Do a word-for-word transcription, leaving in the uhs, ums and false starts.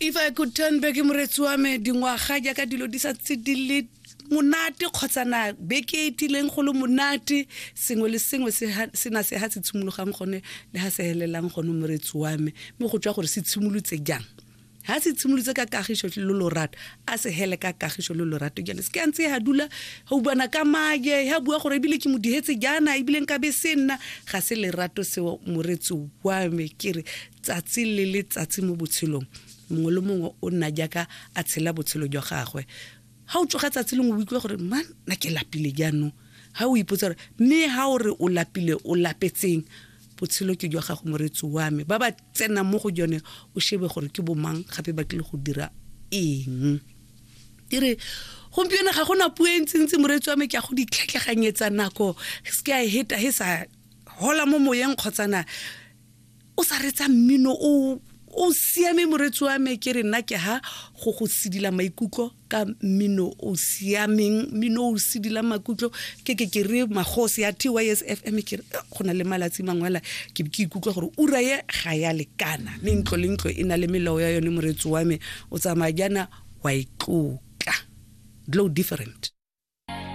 If I could turn back, moretsi wa me, dingwaga jaaka dilo di sa tse di le monate kgotsana beke e tileng go le monate, sengwe le sengwe se na se ha se tshimologang gone le ha se helelang gone, moretsi wa me, mme go tswa gore se tshimolotse jang. Ha se tshimolotse ka kagiso le lorato, a se hele ka kagiso le lorato. Jaana se ke a ntse ha dula ga utlwana ka maje, ha bua gore ebile ke mo dihetse jaana, ebile nka be se nna ga se lerato seo, moretsi wa me. Ke re tsatsi le letsatsi mo botshelong, mongwe le mongwe o nna jaaka a tshela botshelo jwa gagwe. Ga o tsoga tsatsi lengwe, o utlwe gore man, nna ke lapile jaanong. Ga o ipotsa gore mme ga o re o lapile, o lapetseng? Botshelo ke jwa gago, moretsi wa me. Ba ba tsenang mo go jone, o shebe gore ke bomang, gape ba tlile go dira eng. Ke re gompieno ga gona puo e ntsintsi, moretsi wa me, ke a go ditlhatlhaganyetsa nako se ke a e heta he sa hola mo moyeng kgotsana o sa retsa mmino o o siame, moretsi wa me. Ke re nna ke ha go go sedila maikutlo ka mmino o siameng, mmino o sedila maikutlo. Ke ke ke re magosi ya T Y S F M, ke re go na le malatsi mangwe ala ke ke ikutlwa gore ura ye ga ya lekana, mme ntlo le ntlo e na le melao ya yone, moretsi wa me. O tsamaya jaana wa itlotla, glow different.